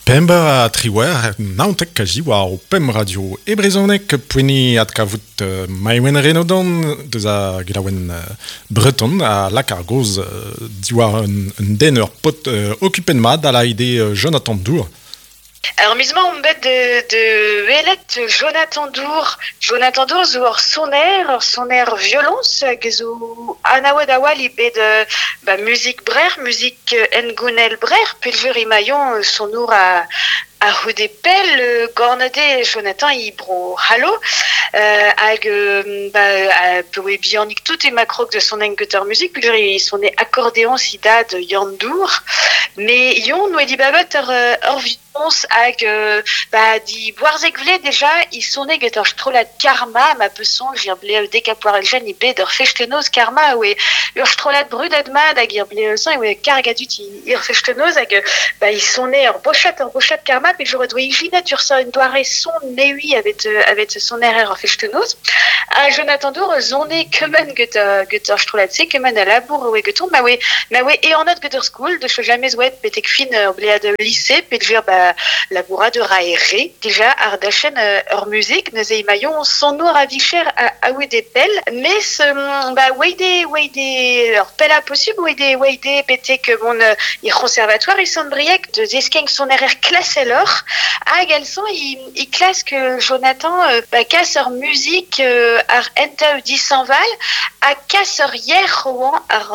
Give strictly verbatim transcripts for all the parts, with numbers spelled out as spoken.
Pemp ha triwec'h naontek a ziwar o pemp radio e brezhoneg poeni adkavout uh, Maïwenn Renaudon deus a gelaouenn uh, Breton a lak ar goz uh, diwar un, un den ur pot uh, okupen mat a la ide uh, Jonathan Dour. Alors, misma on bet de, de welet Jonathan Dour. Jonathan Dour zo ur soner, ur soner violons, hag zo anaouet a oa li bet ba, muzik brer, muzik engounel brer, peljur imaillon sonour a, a c'houde pell gornade Jonathan i bro hallo euh, hag ba, a pewe bihanik tout e makrog de son engeter muzik peljur i sonne accordéon si dad Yann Dour mais yon oe di babet ur, ur violons hag ba, di boarzek vle déjà i sonne get ur strollad karma ma peson jir ble dekapoar eljen i bet ur fechtenoz karma oe ur strollad brudad mad hag ir ble son oe kargadut i ur fechtenoz hag ba, i sonne ur bochat ur bochat karma pe j'aurais doa ijinet ur sa un doare son neui avec avec son erreur ur fechtenoz a Jonathan Dour zonne kemen get get ur strollad se kemen a labour oe geton ma oe ma oe e an get ur school de jamais oet betek fin ur blead lycée pe jur ba laboura de raere déjà ar dachen ur musique neuze imaillon son nour a vicher a, a oe de pell mes ba oe de oe de ur pella possible oe de oe de betek bon i conservatoire i son briek de zeskeng son erreur klasselor hag elson i, i klas que Jonathan euh, ba kas ur musique euh, ar enta disanval a kas ur yer roan ar,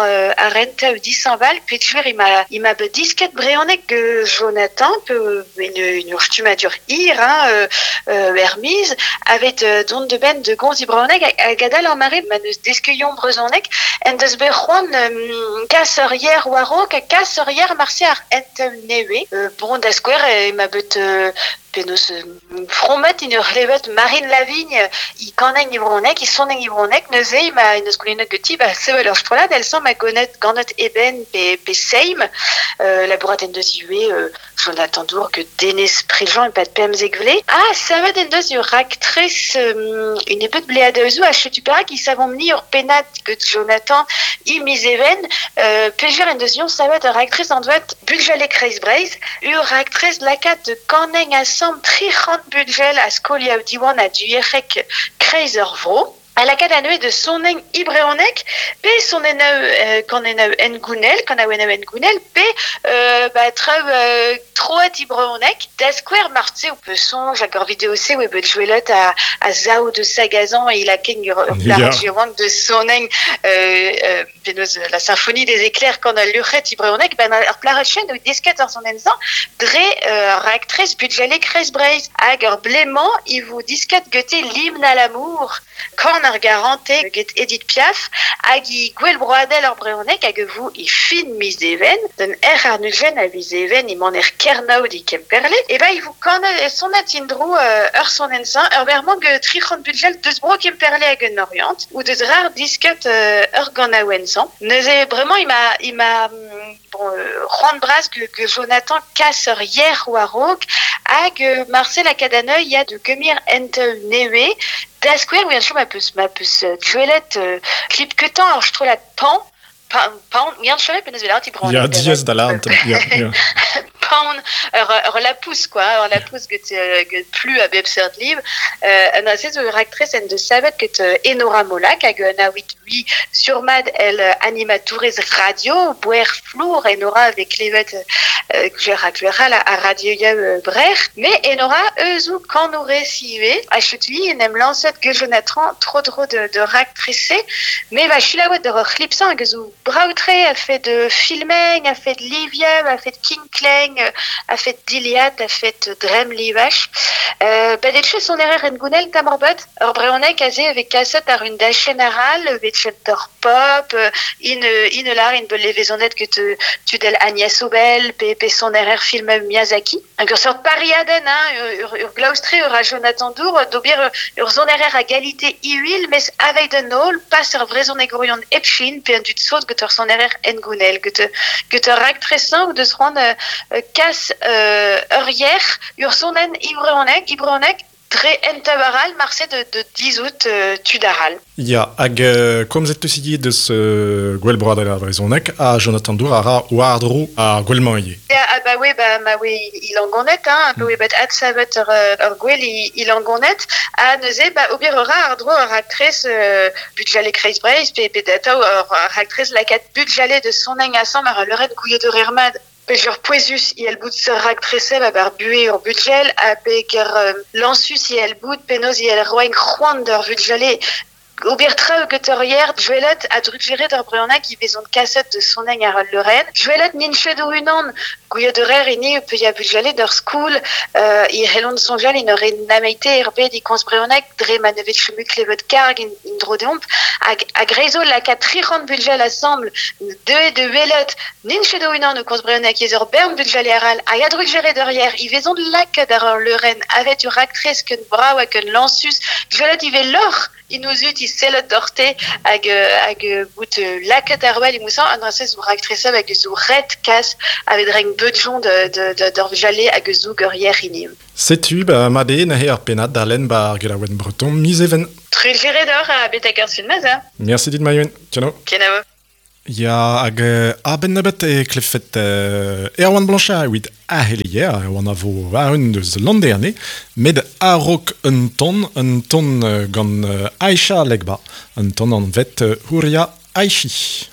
ar enta disanval pe tjur i ma, i ma be disket breonek que Jonathan pe une, une ur stumadur ir hein, euh, euh, Hermise avec euh, don de ben de gonz i breonek hag gadal ar mare ma neus deskeuillon brezonek en deus be c'hoant euh, kas ur yer warok a kas ur yer marse ar enta newe euh, bon da skouer e ma bet euh, penaos fromet in ur c'hlevet Marine Lavigne i kaneng i bronek, i soneng i bronek, neuze i ma neus goulennet geti, ba sevel ur strollad, el son ma gonet ganet eben pe, pe seim, euh, labourat en deus iwe euh, Jonathan Dour que Denis Préjean e pat pemzek vle. Ah, savet en deus ur actrice euh, une epet blead euzou a chetu perak i savomp ni ur penat get Jonathan i mizeven, euh, pejer en deus ion savet ur actrice an doet buljale kreiz breiz, ur actrice lakat de kaneng a sam tric'hant budgel a skolia diwan a duerek kreiz ur vro. A lakad aneuet de soneng ibreonek, pe sonen euh, kan en engounel, kan a en engounel, pe euh, ba traoù euh, troet ibreonek, da skouer martse ou pe sonj hag ur vidéo se ou e bet jouelet a, a zao de sagazan e il a ken ur, ur Ya. de soneng euh, euh, penaos la symphonie des éclairs kan a luc'het ibreonek, ben ur plaret chen ou desket ar sonen zan, dre euh, raktres budjale kreiz breiz hag ur blément i vo disket gete l'hymne à l'amour kan ar garante get Edith Piaf hag i gwell broadel ur breonek hag vo i fin miz even den er ar nujen a viz even i man er kernaout i kemperle e ba i vo kan sonet indro euh, ur sonen zan ur vermant ge tric'hant budgel deus bro kemperle hag un orient ou deus rar disket euh, ur ganaouen zan neuze vraiment i ma i ma bon euh, c'hoant bras que, que Jonathan kas ur yer war-raok hag euh, Marcel a kadaneuil ya de kemir ent newe da skouer oui ma peus ma peus duelet euh, klip ketan ar strollad pan pan pan oui an penaos vel ti Ya, diez da lant. Ya, ya. Pan ur, ur lapous quoi ur lapous get, get plu a bep seurt liv euh, an a zo ur actrice en de savet get euh, Enora Molak hag un a wit ui surmad el animatourez radio boer flour Enora avec klevet euh, gwer a gwer a, a radio ya euh, brer mais Enora eus ou kanoure sive a chetui en em lancet ge Jonathan tro dro de, de raktresse mais va chilaouet de ur c'hlipsan hag zo braoutre a fait de filmeng a fait de liviev a fait de kinkleng a fait d'Iliad a fait drem livach euh, ba det son errer en gounel tamorbet ur breonek aze avec kaset ar un dachen aral vet chanteur pop in in lar in bel levezonet que te tudel Agnès Obel pe pe son errer film Miyazaki un ur pariaden hein ur, ur glaustre ur a Jonathan Dour d'obir ur zon errer a galité iuil mes avec de nol pas ur vrezon egorion epchin pe un dut sot get ur son errer en gounel get get ur actressan ou deus c'hoant euh, kas euh, ur yer ur sonen ibreonek ibreonek Dre entabaral marse de, de dizout euh, tudaral. Ya, hag euh, komzet teus ivez deus euh, gwell broadel ar brezhoneg ha Jonathan Dour a ra war-dro ar gwell-mañ ivez. Ya, ah bah oui, bah, ma oui, il angonet, hein, mm. bet adsavet ur, ur gwell il, il angonet, ha neuze, bah, ober ur ar dro ur aktrez euh, budjale kreiz breiz, pe, pe data ur, ur aktrez lakat budjale de soneng asam ar leuret gouiet ur ermad. Pe ur pouezus i el bout ur aktrese ba bar bue ur budjel, ha pe ker euh, lansus i el bout penoz i el roen c'hoant d'ur budjale. Ober traoù get ur yer, dwelet a drugeret ur breunak i vezont kaset de soneng ar leuren. Dwelet nin chet o unan, gouiet ur er ini pe ya budjale d'ur school, euh, i helon sonjal in ur nameite er bet i komz breunak dre ma nevet chemu klevet karg in, in dro deomp. Hag, hag reizo laka tri c'hant budjal assemble, de de welet, nin chet o unan o komz breunak ez ur bern budjale aral, hag a drugeret ur yer, i vezont lakaat ar ur leuren, avet ur aktrez ken brav hag ken lansus, dwelet i ve lor, i nous ut i sellet dorte hag, hag bout laket ar wel i mousan an drase zo raktresa hag zo ret kas avet reng beudjon de, de, de, d'ur jale hag zo ur yer ini. Setu, ba, made nahe ar penad da len ba ar gelaouen breton miz even. Trulgeret d'or a betek ar sun maz, hein? Merci dit Maïwen. Tiens. Kenavo. Ya, hag euh, a-benn nebeut e klefet euh, Erwan Blanchard evit ahelier, Erwan a vo war un deus landerne, met a-raok un ton, un ton euh, gant euh, Aïcha Legba, un ton an vet euh, Houria Aichi.